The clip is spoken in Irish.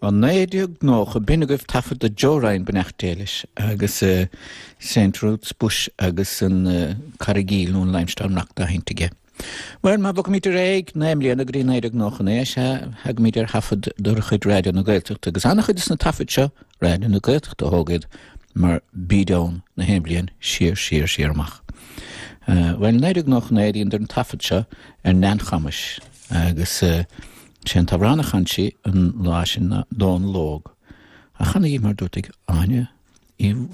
Ó 1990, b'in agaibh taifead de Joe Ryan, beannacht Dé leis, agus Saint Ruth's Bush agus an Carraig Aoil nó an Limestone Rock dá sheinnt aige. Bhuel, má bhogaimid ar aghaidh 9 mbliana go dtí 1999, sea, thagaimid ar thaifead de chuid Raidió na Gaeltachta, agus an-chuid de na taifid seo, Raidió na Gaeltachta a thóg iad, mar bíd ann na haon bhliain siar, siar, siar amach. Bhuel, 1999, dheineadar an taifead seo ar Neain Chamuis, agus sé an t-amhrán a chan sí an lá sin ná Dónal Óg, á chanadh di, mar dúirt ag Áine Uí.